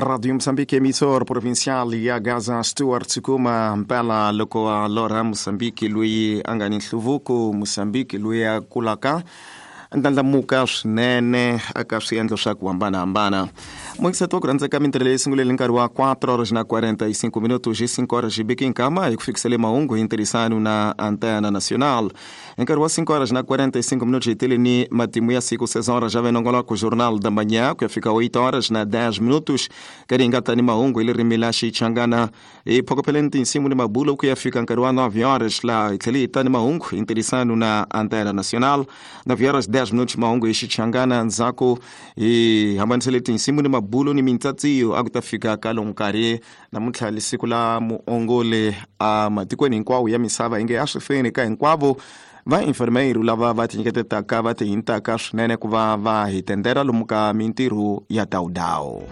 Radio Moçambique, emissor provincial ya Gaza, Stuart Kuma mpela loko a lorha Moçambique loyi a nga ni nhluvuko, Moçambique loyi a kulaka ndlandlamuka swinene eka swiendlo swa ku hambanahambana. Muingiseti wa ku rhandzeka, mintirho leyi sunguleni nkarhi wa 4 horas na 45 minutos, 5 horas hi biki nkama hi ku fikisele mahungu hi ntirhisano na Antena Nacional. Hi nkarhi wa 5 horas na 45 minutos hi tele ni matimu ya siku, 6 horas já vem nongoloko Jornal da Manhã, ku ya fika 8 horas na 10 minutos karhi hi nga ta ni mahungu hi ririmi la Xichangana. Hi phokopheleni tinsimu ni mabulo ku ya fika nkarhi wa 9 horas, laha hi tlhele hi ta ni mahungu hi ntirhisano na Antena Nacional. 9 horas 10 minutos mahungu hi Xichangana, ndzhaku hi hambanisele tinsimu ni mabulo ni mintsatsiyo a ku ta fika ka lomu nkarhi. Namuntlha li siku la muongoli a matikweni hinkwawo ya misava, inge a swi feni ka hinkwavo va enfermeiro lava va tinyiketetaka, va tihintaka swinene ku va va hi tendera lomu ka mintirho ya dawudawu.